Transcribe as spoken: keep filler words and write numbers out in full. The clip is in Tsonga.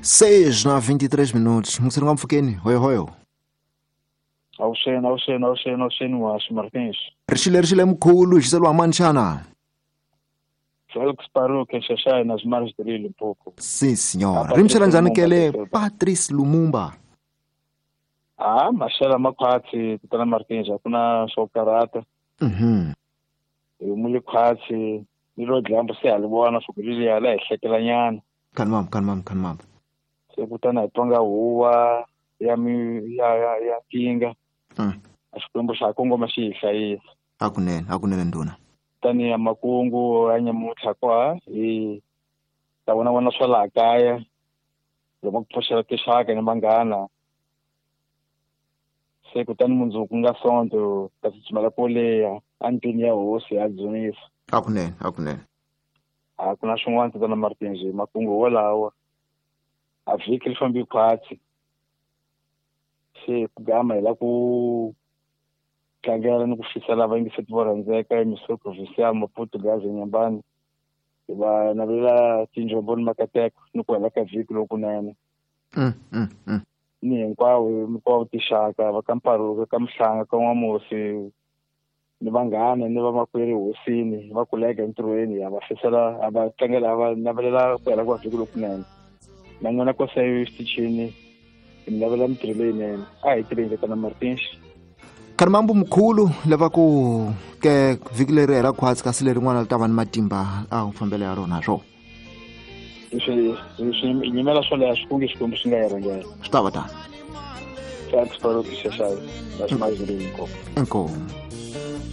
Seis na vinte e três minutos. Msiri nga mpfukeni hoyo hoyo. Awuxeni awuxeni awuxeni awuxeni Washu Martins. Rixile rixile mkhulu xiselo mani xana? Félix Paruque Xaxai nas margens do Rio Limpopo. Sim, senhora. Rimxela njhani kele Patrice Lumumba? Ah, maxela makhwatsi tatana Martins a ku na swo karata. Mhm. Hi muli khwatsi ni ro dyambu se ha li vona swo ku liliya la hi hlekelanyana. Kanmam kanmam kanmam. Se kutani hi twanga huwa ya mi ya ya ya tinga. Mm. A Xikwembu xa kongoma xi hi hlayisa. Hakunene hakunene nduna. Tani ya makungu ya nyamuntlha kwa hi ta vona vona swa laha kaya loko ku pfuxela tinxaka ni vanghana. Se kutani mundzuku nga Sonto ta tsutsumela koleya endlwini ya hosi ya dzunisa. Hakunene hakunene. A ku na swin'wana tatana Martins makungu wolawo. A vhiki ri fambi khwatsi. Se ku gama hi la ku tlangela ni ku fisela vayingiseti vo rhandzeka emisiri provincial Maputo Gaza Nyambani. Hi va navela tinjombo ni makateko ni ku hela ka vhiki lokunene. Mm, mm, mm. Ni hinkwavo hinkwavo tinxaka va ka Mparuka ka Mhlanga ka N'wamusi ni vanghana ni vamakwerhu hosini va kuleka entirhweni ha va fisela ha va tlangela ha va navelela ku hela ka vhiki lokunene. Na n'wina koseyo xitichini hi mi navela mintirho leyinene. A hi tirheni tatana Martins. Karimambu mkhulu lava ku ke vhiki leri hela khwatsi kasi lerin'wana ri ta va ni matimba a fambela ya rona swo. Leswi leswi nyimela swo leha swi kunge Xikwembu xi nga hi rhangela. Swi ta va tano. Felix Paruque Xaxai nas margens do Rio Limpopo. Inkomu.